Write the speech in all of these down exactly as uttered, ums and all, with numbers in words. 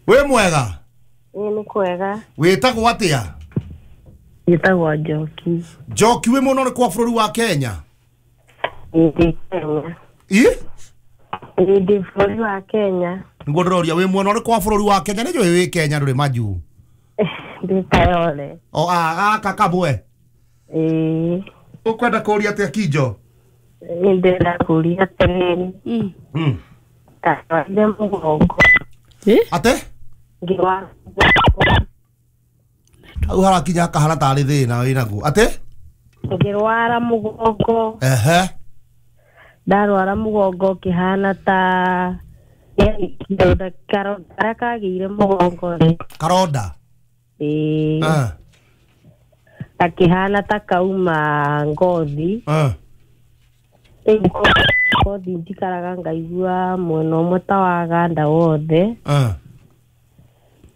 Wĩ mwega? Ĩĩ nĩ kwega. Wĩtagwo atĩa? Njĩtagwo Njoki. Njoki, wĩ mwena ũrĩkũ wa bũrũri wa Kenya? Ndĩ Kenya. Ĩ? Ndĩ bũrũri wa Kenya. Nĩguo ndĩroria, wĩ mwena ũrĩkũ wa bũrũri wa Kenya? Nĩnjũĩ wĩ Kenya ndũrĩ majuu. Ndĩ Kayole. O a gaka kamwe. Ĩĩ. Ũkwenda kũũria atĩa Kinjo? Nĩ ndĩrenda kũũria atĩrĩrĩ. Mm. Mm. Ndarwarire mũgongo. Eh? Ate? Ngĩrwara mũgongo. Hau harakinya hakahana tarĩ thĩna wĩnaguo. Ate? Ngĩrwara mũgongo. Ehe. Ndarwara mũgongo ũkĩhana ta karonda karĩa kagĩire mũgongo rĩ. Karonda? Ĩĩ. Ah. Gakĩhana ta kauma ngothi. Ah. Rĩu ngothi njikaraga ngaigua mwena ũmwe ta waganda wothe. Ah.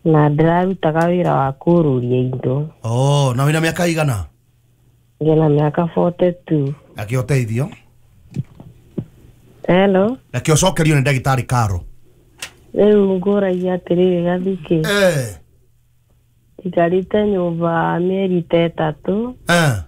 Na ndĩrarutaga wĩra wa kũrũria indo. Oh, na wĩna mĩaka igana? Ndĩna mĩaka forty two. Reke ũteithio. Hello. Reke ũcokerio nĩ ndagĩtarĩ Karo. Rĩu ngũragia atĩrĩrĩ Gathukĩ. Eh. Njikarĩte nyũmba mĩeri ta ĩtatũ. Eh.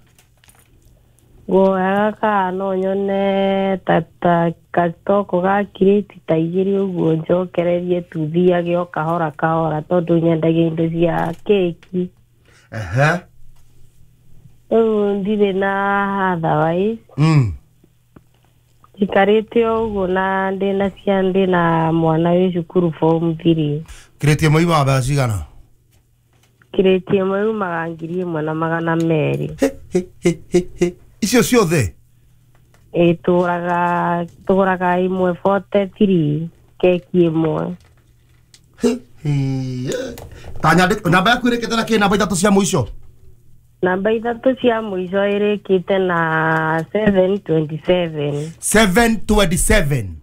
Nguoyaga kana no nyone ta ta gacitoko ga kirĩti ta igĩrĩ ũguo njokererie tuthiage o kahora kahora tondũ nyendagia indo cia keki. Ehe. Rĩu ndirĩ na otherwise. Mm. Njikarĩte o ũguo na ndĩna ciana, ndĩna mwana wĩ cukuru form three. Kirĩti ĩmwe yumaga mbeca cigana? Kirĩti ĩmwe yumaga ngiri ĩmwe na magana merĩ. He, he, he, he, he. Icio ciothe? Ĩĩ, tũgũraga, tũgũraga ĩmwe forty three keki ĩmwe. He, he. Ta nyandĩ, namba yaku ĩrĩkĩte na kĩ? Namba ithatũ cia mũico? Namba ithatũ cia mũico ĩrĩkĩte na seven twenty seven. seven twenty seven.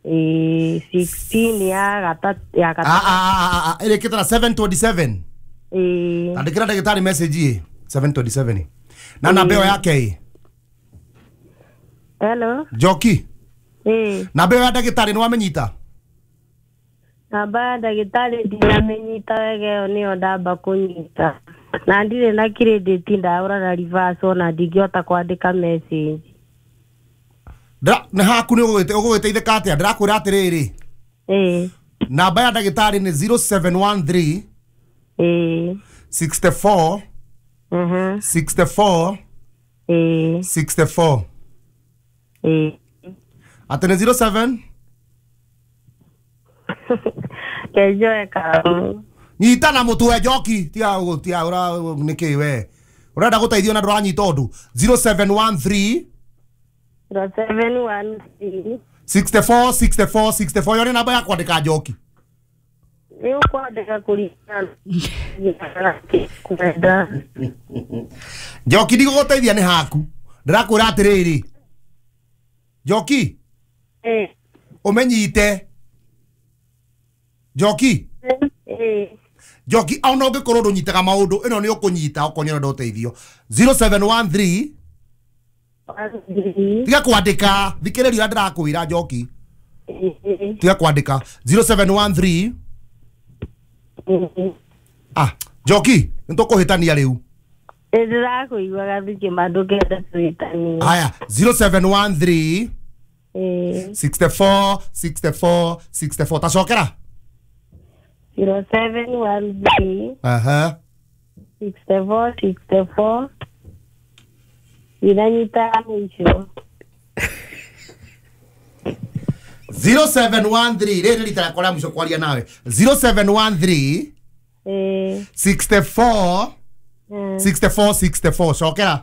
Ĩĩ, sixteen ya gatatũ, ya gatatũ. Ah, ah, ah, ah, ĩrĩkĩte na seven twenty seven. Ĩĩ. Andĩkĩra ndagĩtarĩ message ĩ, seven twenty seven. Na namba ĩyo yake ĩ? Hello. Njoki. Ĩĩ. Namba ĩyo ya ndagĩtarĩ nĩ wamĩnyita? Namba ya ndagĩtarĩ ndinamĩnyita wega, ĩyo nĩyo ndamba kũnyita. Na ndirĩ na credit, ndahũra na reverse ona ndingĩhota kwandĩka message. Ndĩra, nĩ haku nĩ ũgũgĩteithĩka atĩa? Ndĩrakwĩra atĩrĩrĩ. Ĩĩ. Namba ya ndagĩtarĩ nĩ zero seven one three. Ĩĩ. sixty four. Mhm. sixty four. Ĩĩ. sixty four. Ĩĩ. Atĩ nĩ zero seven? Kenjoe karamu. Nyita na mũtwe Njoki, tiga ũguo, tiga ũra nĩkĩ we. Ũrenda gũteithio na ndũranyita ũndũ. zero seven one three. zero seven one three. sixty four, sixty four, sixty four. Ĩyo nĩ namba ya kwandĩka Njoki. Nĩ ũkwandĩka kũringana na kwenda. Njoki, ndigũgũteithia nĩ haku. Ndĩrakwĩra atĩrĩrĩ. Njoki. Ĩĩ. Ũmenyite. Njoki. Ĩĩ. Njoki, ona ũngĩkorwo ndũnyitaga maũndũ, ĩno nĩ ũkũnyita okorwo nĩ ũrenda ũteithio. zero seven one three. Tiga kwandĩka, thikĩrĩria ũrĩa ndĩrakwĩra Njoki. Tiga kwandĩka. zero seven one three. Ah, Njoki, nĩtũkũhĩtania rĩu. Ndĩrakũigua Gathukĩ, ma ndũngĩenda tũhĩtanie. Haya, zero seven one three. Ĩĩ. sixty four, sixty four, sixty four. Tacokera. zero seven one three. Aha. sixty four, sixty four. Ndinanyita mũico. zero seven one three. Rĩrĩ rita rĩakwa rĩa mũico kwaria nawe. zero seven one three. Ĩĩ. sixty four. Mm. sixty four, sixty four. Cokera.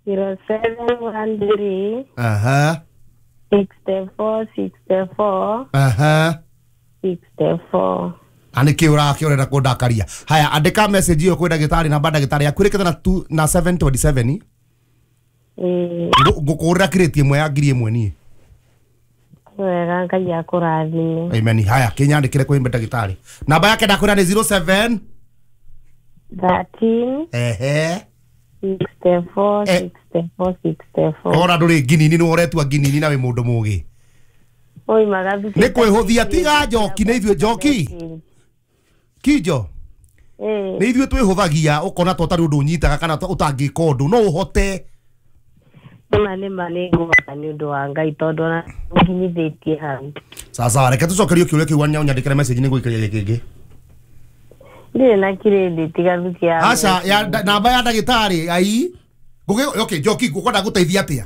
zero seven one three. Aha. sixty four, sixty four. Aha. sixty four. Na nĩkĩ ũrakĩ ũrenda kũndakaria? Haya, andĩka message ĩyo kwĩ ndagĩtarĩ, namba ndagĩtarĩ yaku ĩrĩkĩte na two, na seven twenty seven. Ĩĩ. Ngũkũgũrĩra kirĩti ĩmwe ya ngiri ĩmwe niĩ. Wega, Ngai akũrathime. Amen. Haya, kĩnyandĩkĩre kwĩ ndagĩtarĩ. Namba yake ndakwĩra nĩ zero seven thirteen. Ehe. sixty four, Eh. sixty four, sixty four. Ora ndũrĩ nginini, nĩ ũretua nginini na wĩ mũndũ mũgĩ. Oimaga thukuru. Nĩ kwĩhũthia, tiga Njoki, nĩ ithuĩ Njoki. Kijo Ĩĩ. Nĩ ithuĩ twĩhũthagia ũkona ta ũtarĩ ũndũ ũnyitaga kana ta ũtangĩka ũndũ no ũhote. Nĩma nĩma nĩ ngũhota nĩ ũndũ wa Ngai tondũ ona nginyithĩtie hau. Sasa reke tũcokerio kĩũria kĩu wanya ũnyandĩkĩre message nĩ ngũikĩria gĩkĩ. Ndirĩ na credit gathuki ya Aca ya nda- namba ya ndagĩtarĩ ai. Ngũgĩ okay Njoki ngũkwenda gũteithia atĩa?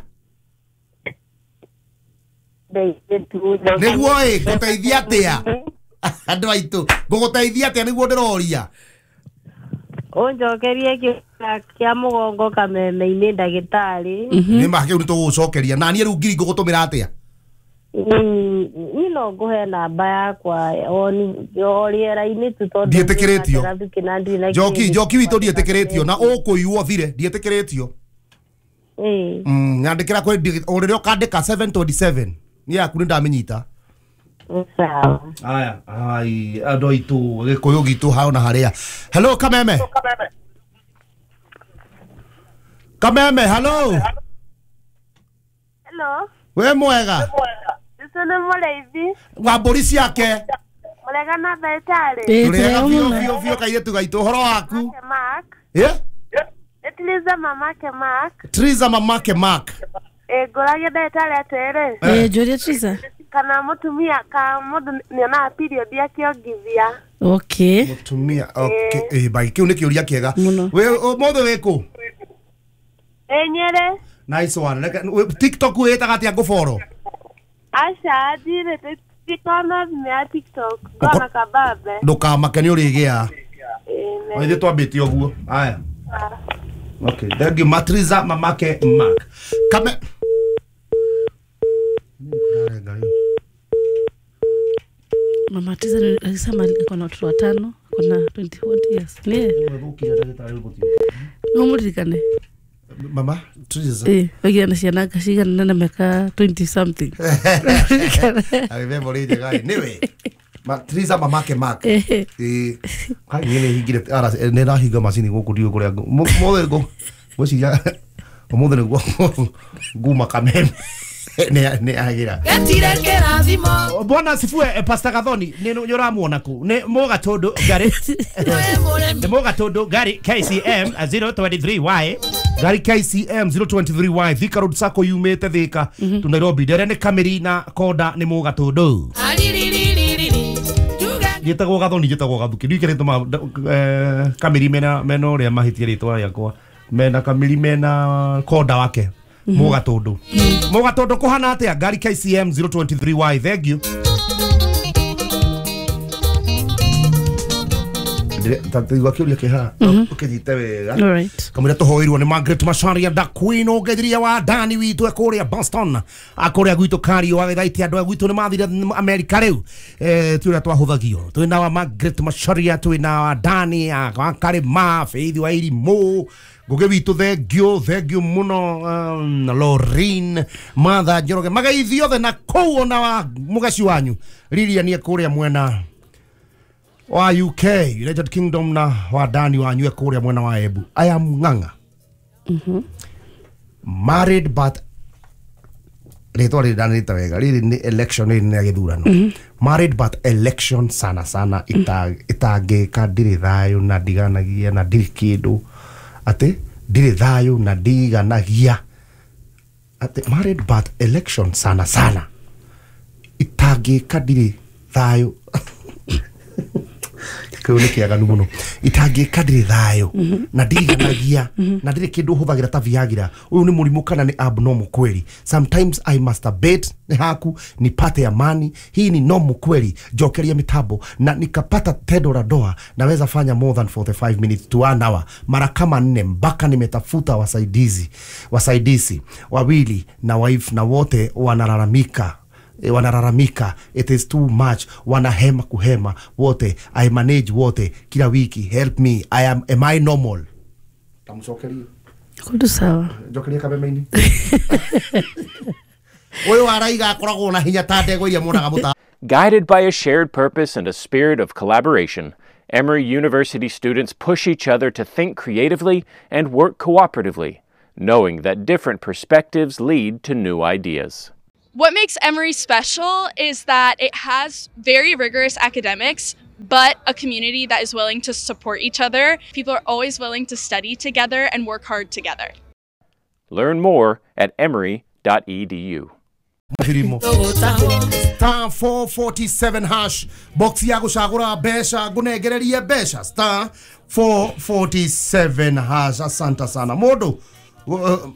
Ndeithie tu. Nĩguo ĩ ngũteithia atĩa? Andũ aitũ ngũgũteithia atĩa nĩguo ndĩroria. Ũnjokerie kĩũria kĩa mũgongo kameme-inĩ ndagĩtarĩ. Nĩ ma kĩu nĩ tũgũgũcokeria na niĩ rĩu ngiri ngũgũtũmĩra atĩa? Mm, niĩ no ngũhe namba yakwa o ni- o rĩera-inĩ tu tondũ Ndiĩtĩkĩrĩtio. gathuki na ndirĩ na Njoki credit. Njoki witũ ndiĩtĩkĩrĩtio na ũkũiywo thire ndiĩtĩkĩrĩtio. Ĩĩ. Mm, nyandĩkĩra kwĩ o rĩrĩa ũkandĩka seven twenty-seven niĩ yaku nĩ ndamĩnyita. Sawa. Aya, ai andũ aitũ gĩkũyũ gitũ hao na harĩa. Hello Kameme. Kameme, hello. Hello. We mwega. Icio nĩ mũrĩithi. Wa mbũri ciake. Mũrega na ndagĩtarĩ. Ĩĩ, Tũrĩega tũrĩ biũ mũno. biũ biũ kairĩtu gaitũ ũhoro waku. Mamake Mark. Eh? Ĩtiliza mamake Mark. Triza mamake Mark. Ĩ ngũragia ndagĩtarĩ atĩrĩ. Ĩĩ, njũria Triza. Kana mũtumia ka mũndũ nĩonaga period akĩongithia. Okay. Mũtumia okay eh bai kĩu nĩ kĩũria kĩega. Mũno. We ũmũthĩ wĩ kũ? Ĩ Nyĩrĩ. Nice one. Reke- we- TikTok wĩtaga atĩa ngũboro? Aca ndirĩ ndikona thimũ ya TikTok. Ngona kabambe. Ndũkamake nĩ ũrĩgĩa. Ĩ Ithuĩ twambĩtie ũguo. Aya. Okay, thank you Matriza mamake Mark. Kame Mama Triza ni- alisema alikuwa na watoto watano, ako na twenty-one years. Ni yeye? No mũririkane. Mama Triza. Ĩĩ, oigire na ciana anga cigana na mĩaka twenty something. I remember rĩ njega ĩ. Nĩwe. Ma Triza mamake Mark. Ĩĩ. Ĩĩ. Kai niĩ nĩ hingire ara nĩ ndahinga macini gũkũ ndiũĩ kũrĩa ngũ- mũ- mũthĩ ngũ ngwĩciria ũmũthĩ nĩguo nguma kameme nĩ nĩ agĩra. Getire kĩrathimo. Bwana sifue eh, Pastor Gathoni nĩ nĩ ũramuona kũ nĩ Mũgatũndũ ngari nĩ Mũgatũndũ ngari K C M zero twenty-three Y Ngari K C M zero twenty-three Y Thika Road Sacco yumĩte Thika tu Nairobi ndere nĩ Kamĩri na Konda nĩ Mũgatũndũ. Aririririririri. Njuge Njĩtagwo Gathoni njĩtagwo Gathuki ndiũĩ kĩrĩa gĩtũmaga Kamĩri mena mena ũrĩa mahĩtie rĩtwa rĩakwa mena Kamĩri mena Konda wake Mũgatũndũ. Mũgatũndũ kũhana atĩa ngari K C M zero twenty-three Y thank you. Taigua kĩũria kĩ haha ũkĩnyite wega. All right. Kamwĩra tũhoirwo nĩ Margaret Macharia da Queen ũngeithiria wa Dani witũ e kũrĩa Boston akũrĩa gwitũ Kario agĩthaiti andũ a gwitũ nĩ mathire Amerika rĩu eh, ti ũrĩa twahũthagio twĩna wa Margaret Macharia twĩna wa Dani wa Karĩma Faith wa Irimũ Ngũgĩ witũ thengio thengio mũno um, Lorin Martha Njoroge mageithio othe na kũu ona wa mũgeci wanyu Lilian e kũrĩa mwena wa U K United Kingdom na wa Dani wanyu e kũrĩa mwena wa Embu. I am Ng'ang'a. Married but rĩtwa rĩrĩ ndanĩrĩta wega rĩrĩ nĩ election rĩrĩ nĩ gĩthurano. Married but election sana sana ita itangĩka ndirĩ thayũ na ndiganagia na ndirĩ kĩndũ atĩ ndirĩ thayũ na ndiganagia atĩ married but election sana sana itangĩka ndirĩ thayũ kĩu nĩ kĩaganu mũno itangĩka ndirĩ thayũ na ndiganagia na ndirĩ kĩndũ hũthagĩra ta Viagra ũyũ nĩ mũrimũ kana nĩ abnormal kweli sometimes I masturbate nĩ haku nipate amani hii ni normal kweli njokeria mitambo na nikapata tendo la ndoa naweza fanya more than forty-five minutes to one hour mara kama nne mpaka nimetafuta wasaidizi wasaidizi wawili na wife na wote wanalalamika wanalalamika it is too much wanahema kuhema wote I manage wote kila wiki help me I am am I normal tamcokerie Kundu sawa. njokerie kameme-inĩ ũyũ araiga akoragwo na hinya ta ndegwa iria muonaga mũta Guided by a shared purpose and a spirit of collaboration, Emory University students push each other to think creatively and work cooperatively, knowing that different perspectives lead to new ideas. What makes Emory special is that it has very rigorous academics, but a community that is willing to support each other. People are always willing to study together and work hard together. Learn more at emory dot e d u. Star four forty-seven hash box ya gucagura mbeca ngunengererie mbeca star four forty-seven hash. Asante sana mundu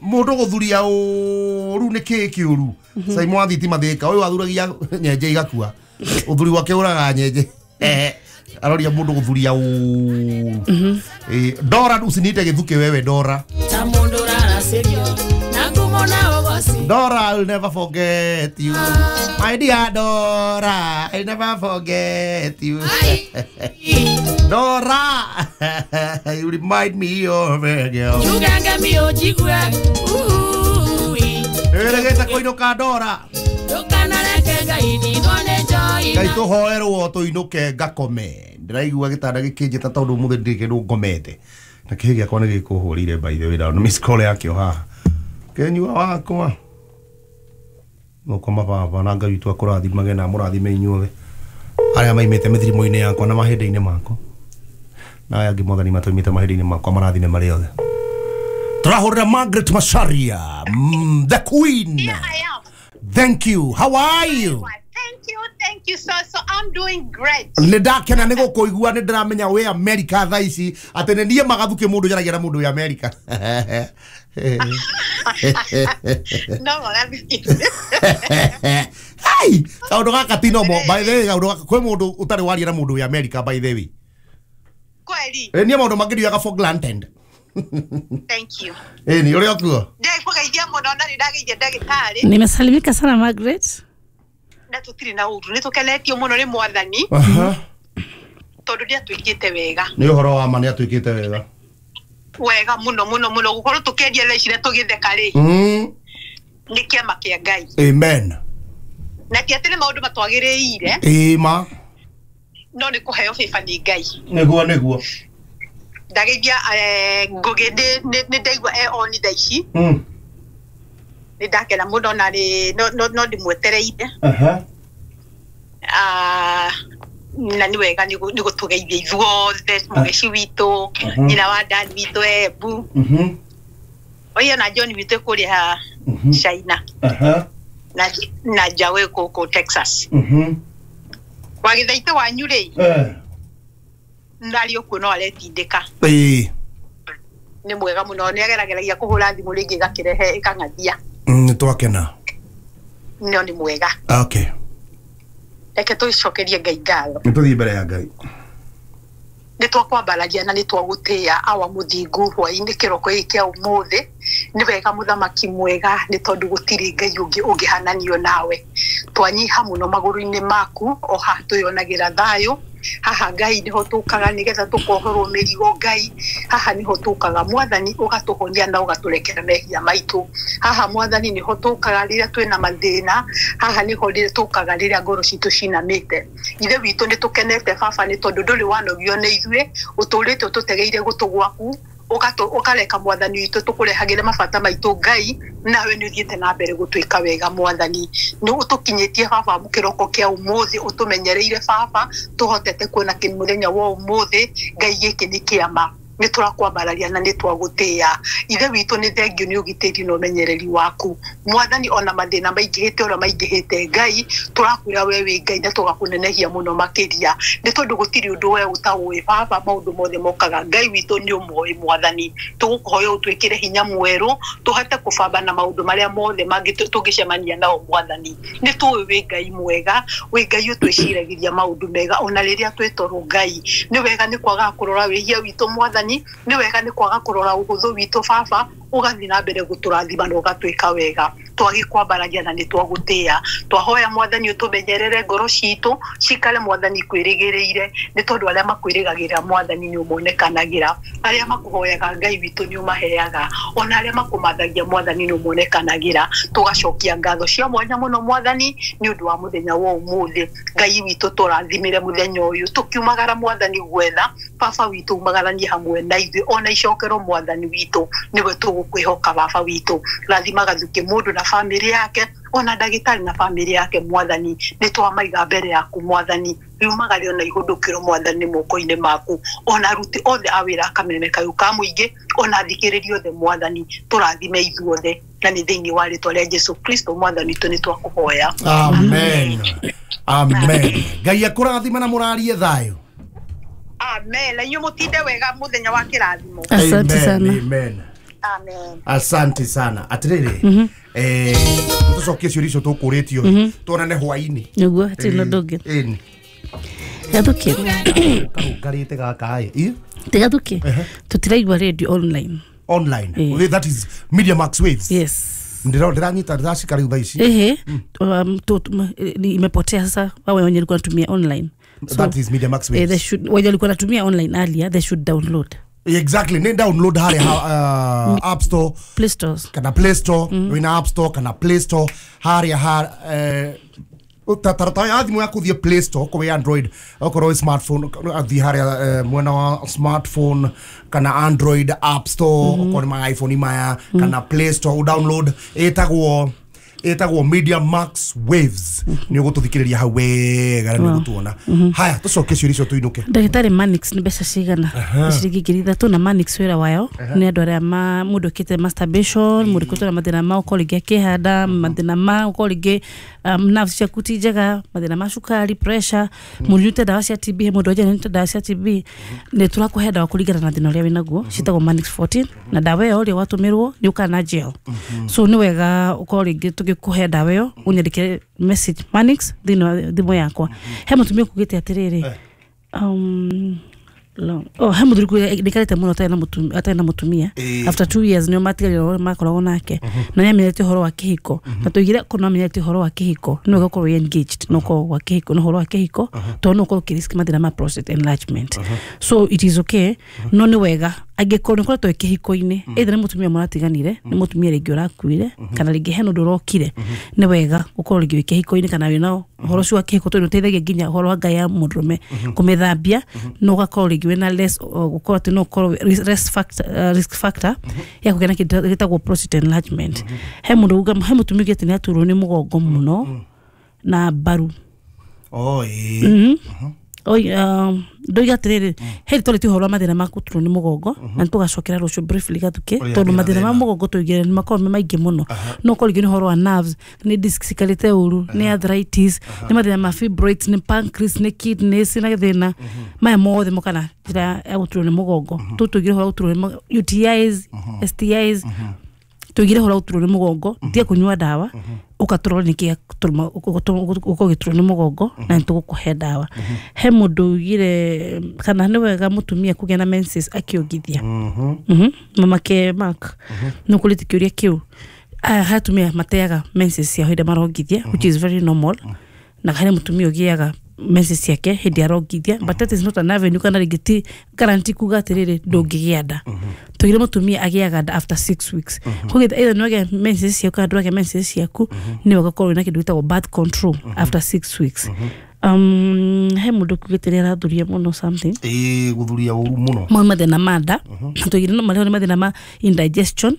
mundu guthuria uru ni ki kiuru sai mwathi mathika uyu athuragia nyenje igakua uthuri wake uraga nyenje aroria mundu guthuria uru. Dora usinite githuke wewe Dora. Dora, I'll never forget you. My dear Dora, I'll never forget you. Dora, you remind me of a girl. You can get me Dora. Ngai tuhoerwo tuinuke ngakome. Ndiraigua gitanda gikinjita tondu umuthi ndiri kindu ngomete. Na kihi giakwa ni gikuhurire by the way na miss call yakio haha. Kenyua wakwa moko baba na Ngai witũ akũrathimage na mũrathime inyuothe arĩa maimĩte mĩthirimo-inĩ yakwa na mahĩndĩ-inĩ makwa na aya angĩ Mwathani matũimĩte mahĩndĩ-inĩ makwa marathime marĩ othe. Tũrahũrĩra Margaret Macharia, mm, the queen. Here I am. Thank you. How are you? Thank you, thank you, sir. So I'm doing great. Nĩ ndakena nĩ gũkũigua nĩ ndĩramenya wĩ America thaa ici atĩ nĩ niĩ magathuke mũndũ njaragia na mũndũ wĩ America. No, magathuke. Hey, kaũndũ gaka ti normal. By the way, kaũndũ gaka kwĩ mũndũ ũtarĩ waria na mũndũ wĩ America by the way. Kweli. Ĩ niĩ maũndũ mangĩ ndiugaga for granted. Thank you. Ĩ ni ũrĩa ũkuo? Ndĩkũgeithia mũno na nĩ ndageithia ndagĩtarĩ. Nimesalimika sana Margaret. Na tutiri na uru ni tukenetio muno ni Mwathani tondu ndiatwikite wega ni uhoro wa ma ni atwikite wega wega muno muno muno gukorwo tukiendia thaa ici na tugitheka ri ni kiama kia Ngai. Amen. Na ti ati ni maundu matwagiriire ima no ni kuheo favor ni Ngai. Niguo niguo ndageithia Ngugi ni ndaigua e on thaa ici ni ndakena muno na ni no no ndimwetereire. Aha. Ah, na ni wega ni gutugeithia ithuothe mugeci witu nyina wa dad witu Embu. Mhm. Oyo na John witu kuria China. Aha. Na na Jawe kuku Texas. Mhm. Wagithaite wanyu ri. Eh. Ndari okuo no aretindika. Ii. Ni mwega muno ni agerageragia kuhura thimu ringi igakirehe ikang'athia. Nĩ twakena. No ni mwega. Okay. Reke tũcokerie Ngai ngatho. Nĩ tũthiĩ mbere ya Ngai. Nĩ twakwambaragia na nĩ twagũtĩĩa awa mũthingu hwaĩ-inĩ kĩroko gĩkĩ kĩa ũmũthĩ. Nĩ wega mũthamaki mwega nĩ tondũ gũtirĩ Ngai ũngĩ ũngĩhananio nawe. Twanyiha mũno magũrũ-inĩ maku o haha twĩyonagĩra thayũ. Haha Ngai niho tukaga nigetha tukohorwo mĩrigo Ngai. Haha niho tukaga Mwathani ũgatũhonia na ũgatũrekera mehia maitũ. Haha Mwathani niho tukaga rĩrĩa twĩna mathĩna. Haha niho tukaga rĩrĩa ngoro citũ cinamĩte. Ithe witũ nĩ tũkenete baba nĩ tondũ ndũrĩ wanogio nĩ ithuĩ ũtũrĩte ũtũtegeire gũtũ gwaku ukareka Mwathani witũ tũkũrehagĩre mabata maitũ Ngai nawe nĩ ũthiĩte na mbere gũtwĩka wega Mwathani nĩ ũtũkinyĩtie baba mũkĩroko kĩa ũmũthĩ ũtũmenyereire baba tũhotete kuona kĩmũthenya wa ũmũthĩ Ngai gĩkĩ nĩ kĩama nĩ tũrakwambararia na nĩ twagũtĩĩa ithe witũ nĩ thengio nĩ ũgitĩri na ũmenyereri waku Mwathani ona mathĩna maingĩhĩte ũrĩa maingĩhĩte Ngai tũrakwĩra we wĩ Ngai na tũgakũnenehia mũno makĩria nĩ tondũ gũtirĩ ũndũ we ũtaũĩ baba maũndũ mothe mokaga Ngai witũ nĩ ũmoĩ Mwathani tũgũkũhoya ũtwĩkĩre hinya mwerũ tũhote kũbamba na maũndũ marĩa mothe mangĩ tũngĩcemania nao Mwathani nĩ tũĩ wĩ Ngai mwega wĩ Ngai ũtwĩciragĩria maũndũ mega ona rĩrĩa twĩ toro Ngai nĩ wega nĩ kwaga kũrora wĩhia witũ Mwathani nĩ wega nĩ kwaga kũrora ũhũthũ witũ baba ũgathiĩ na mbere gũtũrathima na ũgatwĩka wega twagĩkwambaragia na nĩ twagũtĩĩa twahoya Mwathani ũtũmenyerere ngoro citũ cikare Mwathani kwĩrĩgĩrĩire nĩ tondũ arĩa makwĩrĩgagĩrĩra Mwathani nĩ ũmonekanagĩra arĩa makũhoyaga Ngai witũ nĩ ũmaheaga ona arĩa makũmathagia Mwathani nĩ ũmonekanagĩra tũgacokia ngatho cia mwanya mũno Mwathani nĩ ũndũ wa mũthenya wa ũmũthĩ Ngai witũ tũrathimĩre mũthenya ũyũ tũkiumagara Mwathani gwetha baba witũ umagaranie hamwe na ithuĩ ona icokero Mwathani witũ nĩwe tũgũkwĩhoka baba witũ rathima gathuke mũndũ na family yake Ona ndagĩtarĩ na family yake mwathani nĩ twamaiga mbere yaku mwathani riumagario na ihũndũkĩro mwathani moko-inĩ maku ona aruti othe a wĩra Kameme kayũ ka mũingĩ ona athikĩrĩria othe mwathani tũrathime ithuothe na nĩ thĩinĩ wa rĩtwa rĩa Jesu Kristo mwathani witũ nĩ twakũhoya. Amen. Amen. Ngai akũrathime na mũrarie thayũ. Amen. Na inyuĩ mũtinde wega mũthenya wa kĩrathimo. Asante sana. Amen. Amen. Asante sana. Atiriri. Eh, tucokie ciũria icio tũkũrĩtio tuonane hwaĩ-inĩ. Nĩguo hatirĩ na ũndũ ũngĩ. Ĩni. Gathuki. Karũngarĩte gaka ĩ. Tigathuki. Tũtiraigua radio online. Online. Okay, that is Media Max Waves. Yes. Ndira ndiranyita ndacika rĩu thaa ici. Ehe. Um, imepotea sasa wao wenye walikuwa wanatumia online. So, that is Media Max Waves. Eh, they should wenye walikuwa wanatumia online earlier they should download. Exactly. Ni download harĩa uh, App Store, Play Stores. Kana Play Store, mm. Wina App Store kana Play Store harĩa ha eh tatarata ya thimũ yaku thiĩ Play Store kwa Android okorwo smartphone thiĩ harĩa mwena wa smartphone kana Android App Store okorwo nĩ ma iPhone maya kana Play Store download ĩtagwo ĩtagwo Media Max Waves nĩ ũgũtũthikĩrĩria hau wega na nĩ ũgũtuona. Haya tũcoke ciũria icio tũinũke. Ndagĩtarĩ Manix nĩ mbeca cigana? Ciringi ngiri ithatũ na Manix wĩra wayo nĩ andũ arĩa ma mũndũ ũkĩte masturbation, mũndũ ũkĩte na mathĩna ma ũkorwo rĩngĩ akĩhanda, mathĩna ma ũkorwo rĩngĩ nerves ciaku ti njega, mathĩna ma cukari, pressure, mũndũ ũnyuĩte ndawa cia T B, he mũndũ ũnyuĩte ndawa cia T B, nĩ tũrakũhe ndawa kũringana na thĩna ũrĩa wĩnaguo, ciĩtagwo Manix fourteen na ndawa ĩyo rĩ watũmĩrwo nĩ ũkaga na gel. So nĩ wega ũkorwo rĩngĩ tũgĩkũhe ndawa ĩyo ũnyandĩkĩre message Manix thĩinĩ wa thimũ yakwa. He mũtumia ũkugĩte atĩrĩrĩ um long oh he mũthuri ndikarĩte mũno atarĩ na mũtumia atarĩ na mũtumia after two years nĩo matigarire makoragwo nake na nĩ amenyete ũhoro wa kĩhiko na tũigire korwo amenyete ũhoro wa kĩhiko nĩ wega ũkorwo wĩ engaged no ũkorwo wa kĩhiko na ũhoro wa kĩhiko tondũ no ũkorwo ũkĩrisk mathĩna ma prostate enlargement. So it is okay no nĩ wega angĩkorwo nĩ ũkoretwo wĩ kĩhiko-inĩ either nĩ mũtumia mũratiganire nĩ mũtumia rĩngĩ ũrakuire kana rĩngĩ hena ũndũ ũrokire nĩ wega ũkorwo rĩngĩ wĩ kĩhiko-inĩ kana wĩna ũhoro ũcio wa kĩhiko tondũ nĩ ũteithagia nginya ũhoro wa ngai ya mũndũrũme kũmĩthambia no ũgakorwo rĩngĩ wĩna less gũkorwo atĩ no ũkorwo risk factor risk factor ya kũgĩa na kĩndũ gĩtagwo prostate enlargement. He mũndũ uga he mũtumia ũgĩte nĩ aturwo nĩ mũgongo mũno na mbaru. Oh ĩĩ. Oi um ndoiga atiriri he tå rä ti å horo wa mathä na ma kå turwo nä må gongo na nä tå gacokera rå cio briefly gathukä tondå mathä na ma må gongo tå igä nä makorwo me maingä må no no korwo rĩngĩ nĩ ũhoro wa nerves nä disc cikarĩte ũru nĩ arthritis nĩ mathĩna ma fibroids nĩ pancreas nĩ kidneys na thĩna maya mothe mokana njĩra ya gũturwo nĩ mũgongo tũ tũigire ũhoro wa gũturwo nĩ U T Is S T Is tũigire ũhoro wa gũturwo nĩ mũgongo tiga kũnyua ndawa ũkaturwo nĩ kĩa ũgĩturwo nĩ mũgongo na nĩ tũgũkũhe ndawa. He mũndũ ugire kana nĩ wega mũtumia kũgĩa na menses akĩongithia. Mamake Mark nĩ ũkũrĩte kĩũria kĩu. Aya he atumia mateaga menses ciao hĩndĩ marongithia which is very normal na harĩ mũtumia ũgĩaga menses ciake hĩndĩ arongithia but that is not an avenue kana rĩngĩ ti guarantee kuga atĩrĩrĩ ndũngĩgĩa nda. Tũigire mũtumia agĩaga nda after six weeks koguo either nĩ wagĩa menses ciaku kana ndũragĩa menses ciaku nĩ wega ũkorwo wĩna kĩndũ gĩtagwo birth control after six weeks. Um he mũndũ ũkugĩte nĩ arathuria mũno something ĩĩ gũthuria ũru mũno mau mathĩna ma nda tũigire no marĩa nĩ mathĩna ma indigestion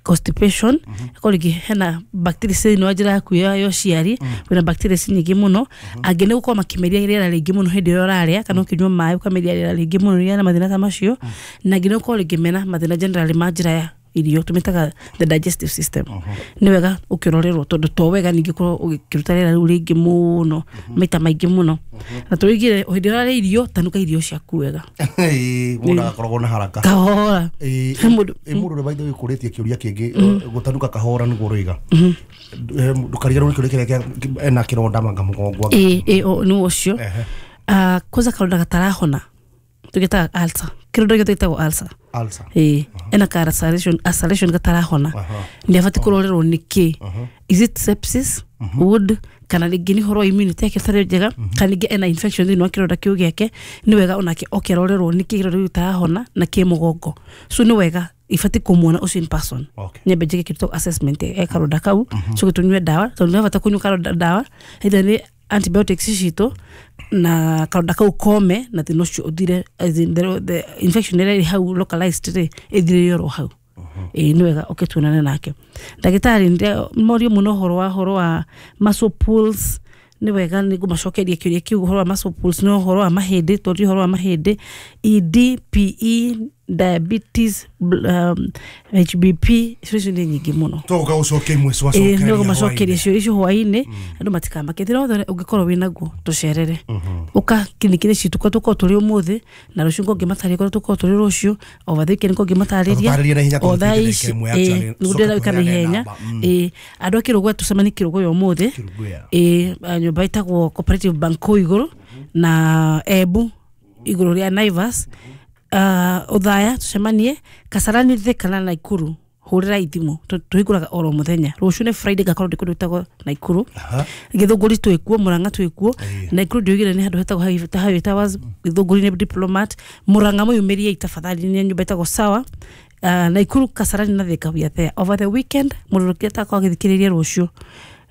constipation akorwo rĩngĩ hena bacteria thĩinĩ wa njĩra yaku ya ũciari wĩna bacteria nyingĩ mũno angĩ nĩ gũkorwo makĩmeria rĩera rĩingĩ mũno hĩndĩ ĩrĩa ũrarĩa kana ũkĩnyua maĩ ũkameria rĩera rĩingĩ mũno rĩrĩa na mathĩna ta macio na angĩ nĩ gũkorwo rĩngĩ mena mathĩna generally ma njĩra ya irio tũmĩtaga the digestive system. Nĩ wega ũkĩrorerwo tondũ to wega ningĩ ũkorwo ũgĩkĩruta rĩera rĩu rĩingĩ mũno maita maingĩ mũno na tũigire hĩndĩ ĩrĩa ũrarĩa irio tanuka irio ciaku wega. Ĩĩ mũndũ agakoragwo na haraka kahora. Ĩĩ mũndũ ũrĩa by the way ũkũrĩtie kĩũria kĩngĩ gũtanuka kahora nĩguo ũroiga ndũkariganĩrwo nĩ kĩũria kĩrĩa ena kĩronda manga mũgongo. Ĩĩ ĩĩ nĩ ũcio kwanza karonda gatarahona tũgĩtaga ulcer kĩronda gĩothe gĩtagwo ulcer ulcer ĩĩ ena ka ulceration ulceration gatarahona nĩ abatiĩ kũrorerwo nĩkĩ is it sepsis wound kana rĩngĩ nĩ ũhoro wa immunity yake ĩtarĩ njega kana rĩngĩ ena infection thĩinĩ wa kĩronda kĩu gĩake nĩ wega onake oke arorerwo nĩkĩ kĩronda kĩu gĩtarahona na kĩ mũgongo so nĩ wega ibatiĩ kũmuona ũcio in person nyambe njĩke kĩndũ assessment ya karonda kau coke tũnyue ndawa tondũ nĩ bata kũnyua karonda ndawa either nĩ antibiotics citũ na karonda kau kome na thĩna ũcio ũthire as in the, the infection ĩrĩa ĩrĩ hau localized rĩ ĩthire oro hau. Ĩĩ nĩ wega ũke tuonane nake ndagĩtarĩ. Morio mũno ũhoro wa ũhoro wa muscle pulls. Nĩ wega nĩ ngũmacokeria kĩũria kĩu ũhoro wa muscle pulls, nĩ ũhoro wa mahĩndĩ, tondũ ũhoro wa mahĩndĩ, E D, P E, diabetes, um, H B P, icio icio nĩ nyingĩ mũno. Tũgoka gũcokia imwe. Ĩĩ, nĩ ũgũmacokeria cio icio hwaĩ-inĩ. Andũ matikamake, thĩna wothe ũngĩkorwo wĩ naguo, tũcerere, ũka kiriniki-inĩ citũ kũrĩa tũkorwo tũrĩ ũmũthĩ na rũciũ, ngũngĩmatarĩria kũrĩa tũkorwo tũrĩ rũciũ, over the weekend ngũngĩmatarĩria. Tũtarĩrie na ihenya o tondũ thaa tũtigĩte ici ndagĩka ĩmwe actually. Ĩĩ, nĩguo ndĩrenda gwĩka na Tũcoke ihenya. tũheane namba. Mm. Ĩĩ, andũ a Kĩrũgũya tũcemanie Kĩrũgũya ũmũthĩ. Kĩrũgũya. Ĩĩ, a, nyũmba ĩtagwo Cooperative Bank kũu igũrũ na Embu igũrũ rĩa Naivas. uh, Othaya tũcemanie Kasarani, Thika na Naikuru. Hũrĩra ithimũ, tũhingũraga oro mũthenya. Rũciũ nĩ Friday, ngakorwo ndĩ kũndũ gwĩtagwo Naikuru. Gĩthũngũri twĩkuo, Mũrang'a twĩkuo, Naikuru ndiugire nĩ handũ hetagwo Highway Towers, Gĩthũngũri nĩ Diplomat, Mũrang'a mũyumĩrie tafadhali nĩ nyũmba ĩtagwo Sawa. uh, Naikuru, Kasarani na Thika, we are there over the weekend. Mũndũ ũrĩa atakorwo agĩthikĩrĩria rũciũ,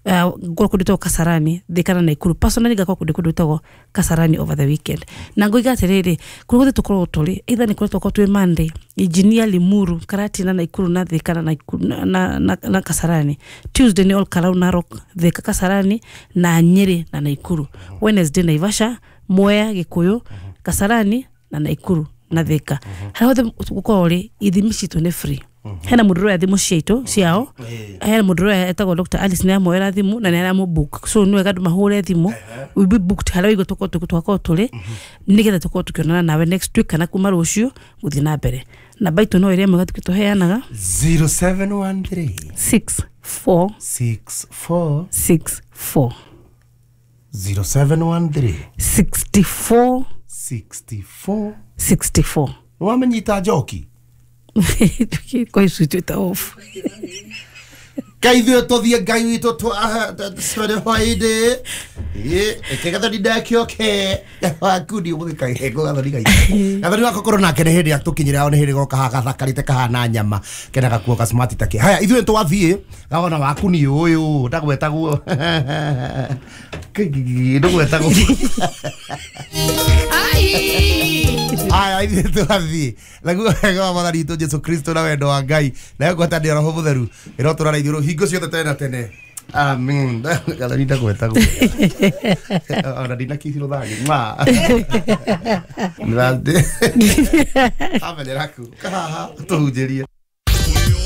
ngorwo kũndũ gwĩtagwo Kasarani, Thika na Naikuru. Personally ngakorwo kũndũ kũndũ gwĩtagwo Kasarani over the weekend. Na ngoiga atĩrĩrĩ, kũrĩa guothe tũkoragwo tũrĩ, either nĩ kũrĩa tũkoragwo twĩ Monday, Engineer, Limuru, Karatina, Naikuru na Thika na Naikuru na, na, na, na Kasarani. Tuesday nĩ Olkalau, Narok, Thika, Kasarani na Nyeri na Naikuru. Wednesday Naivasha, Mwea, Gikuyu, Kasarani na Naikuru na Thika. Harĩa hothe gũkorwo rĩ, ithimi citũ nĩ free. Hena mũndũ ũroya thimũ ciaitũ ciao, hena mũndũ ũroya etagwo Doctor Alice, nĩ amoera thimũ na nĩ aramũ book, so nĩ wega andũ mahũre thimũ. We be booked harĩa waigua tũkorwo twakorwo tũrĩ, nĩgetha tũkorwo tũkĩonana nawe next week kana kuma rũciũ gũthiĩ na mbere. Namba itũ no ĩrĩa ĩmwe gatukĩ tũheanaga. zero seven one three six four six four six four zero seven one three sixty-four sixty-four sixty-four. Nĩwamenyita njoki. Kwa icu twĩta off. Ngai ithuĩ tũthiĩ, Ngai witũ twere hwaĩ-inĩ ĩke gathoni ndakĩoke waku ndi ũmũthĩ kahengo gathoni gaitũ gathoni wako korwo nake nĩ hĩndĩ atũkinyĩra o nĩ hĩndĩ goka hagathakarĩte kahana nyama kena gakuo gasmart take. Haya, ithuĩ twathiĩ gawona waku ni ũyũ ndagwetagwo ndũgwetagwo. Aya, ithuĩ twathiĩ naguo wega wa Mwathani witũ Jesu Kristo na wendo wa Ngai nayo ngwatanĩro Roho Mũtheru ĩrotũra ithuĩ hingo ciothe tene na tene, amen. Gathoni ndagwetagwo ona ndinakithirwo thani ma amenyeraku kahaha tũhunjĩrie.